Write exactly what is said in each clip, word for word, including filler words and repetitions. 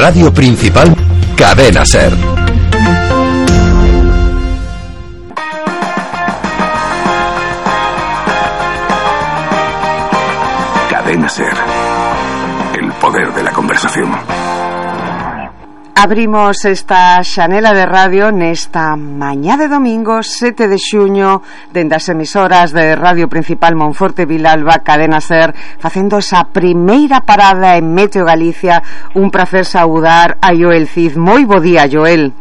Radio Principal, Cadena Ser. Cadena Ser. El poder de la conversación. Abrimos esta xanela de radio nesta mañá de domingo sete de xuño dende as emisoras de Radio Principal Monforte Vilalba, Cadena Ser, facendo esa primeira parada en Meteo Galicia. Un prazer saudar a Joel Cid. Moi bo día, Joel.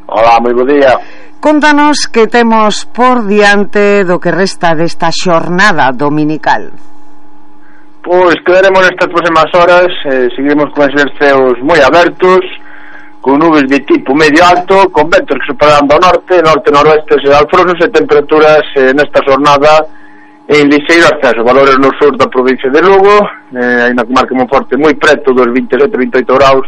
Hola, moi bo día. Contanos que temos por diante do que resta desta xornada dominical. Pois quedaremos nestas próximas horas, eh, seguiremos con esos ceos moi abertos, con nubes de tipo medio alto, con ventos que superarán do norte, norte-noroeste e alfrosos, e temperaturas eh, nesta jornada en liseiro ascenso, valores no sur da provincia de Lugo, eh, na comarca Monforte moi preto dos vinte e sete a vinte e oito graus,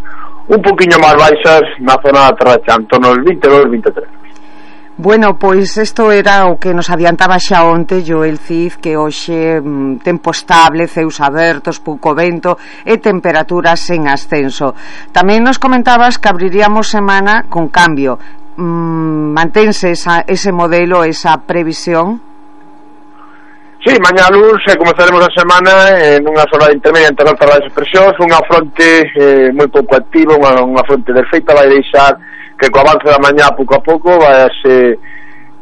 un poquinho máis baixas na zona da Terra Cha, en torno aos vinte e dous a vinte e tres. Bueno, pois isto era o que nos adiantaba xa onte Joel Cid, que hoxe mm, tempo estable, ceus abertos, pouco vento e temperaturas en ascenso. Tamén nos comentabas que abriríamos semana con cambio. Mm, mantense esa, ese modelo, esa previsión? Sí, mañá luz e comezaremos a semana en unha zona intermedia entre altas baixas presións, unha fronte eh, moi pouco activa, unha, unha fronte desfeita, vai deixar que co avance da mañá pouco a pouco vai se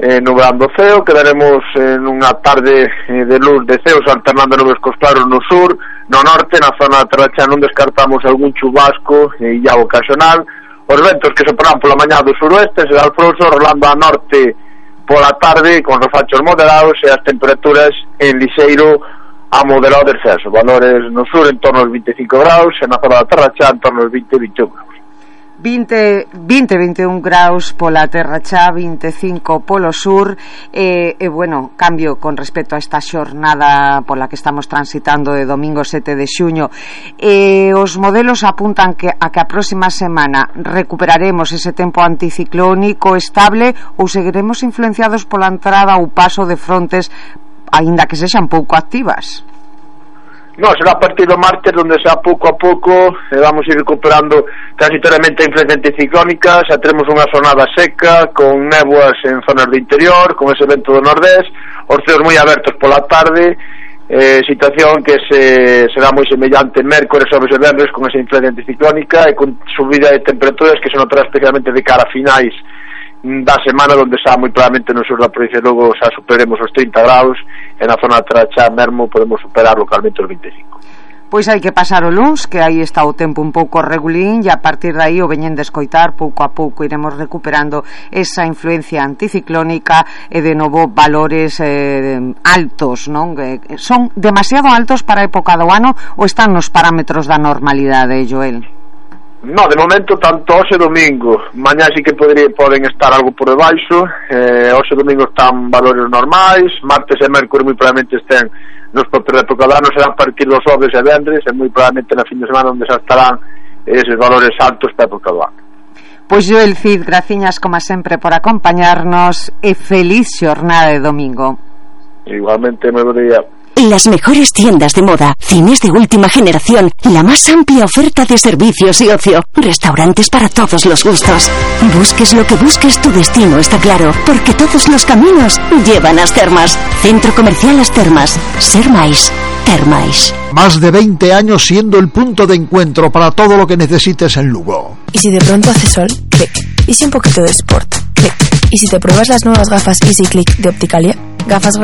eh, nublando o ceo, quedaremos en unha tarde eh, de luz de ceos alternando nubes cos claros no sur, no norte, na zona da Terra Cha non descartamos algún chubasco e illao ocasional, os ventos que soprarán pola mañá do suroeste será alfroso, rolando a norte pola tarde con refachos moderados e as temperaturas en lixeiro a moderado descenso, valores no sur en torno aos vinte e cinco graus e na zona da Terra Cha en torno aos vinte a vinte e un graus. vinte, vinte, vinte e un graus pola Terra Cha, vinte e cinco polo sur e, e bueno, cambio con respecto a esta xornada pola que estamos transitando de domingo sete de xuño. E os modelos apuntan que a que a próxima semana recuperaremos ese tempo anticiclónico estable ou seguiremos influenciados pola entrada ou paso de frontes aínda que sexan pouco activas. No, será a partir do martes onde xa pouco a pouco eh, vamos a ir recuperando transitoriamente a influencia anticiclónica, xa teremos unha xornada seca con néboas en zonas do interior, con ese vento do nordés, os ceos moi abertos pola tarde, eh, situación que se será moi semellante mércores, xoves e venres con esa influencia anticiclónica e con subida de temperaturas que se notará especialmente de cara a finais da semana, onde xa moi probablemente no sur da provincia logo xa superemos os trinta graus e na zona da Terra Cha mesmo podemos superar localmente os vinte e cinco. Pois hai que pasar o luns, que aí está o tempo un pouco regulín, e a partir de aí o veñen de escoitar, pouco a pouco iremos recuperando esa influencia anticiclónica e de novo valores eh, altos, non? Que son demasiado altos para a época do ano ou están nos parámetros da normalidade, Joel? No, de momento tanto hoxe domingo, mañá sí que podría, poden estar algo por debaixo, eh, hoxe domingo están valores normais, martes e mércores moi probablemente estén nos propios da época do ano, serán a partir dos xoves e vendres, e moi probablemente na fin de semana onde xa estarán eses valores altos para a época do ano. Pois Joel Cid, graciñas como sempre por acompañarnos e feliz xornada de domingo. Igualmente, moi bo día. Las mejores tiendas de moda, cines de última generación, la más amplia oferta de servicios y ocio, restaurantes para todos los gustos. Busques lo que busques, tu destino está claro, porque todos los caminos llevan a As Termas. Centro Comercial As Termas. Ser máis, ter máis. Más de veinte años siendo el punto de encuentro para todo lo que necesites en Lugo. ¿Y si de pronto hace sol? Clic. ¿Y si un poquito de sport? Clic. ¿Y si te pruebas las nuevas gafas Easy Click de Opticalia? Gafas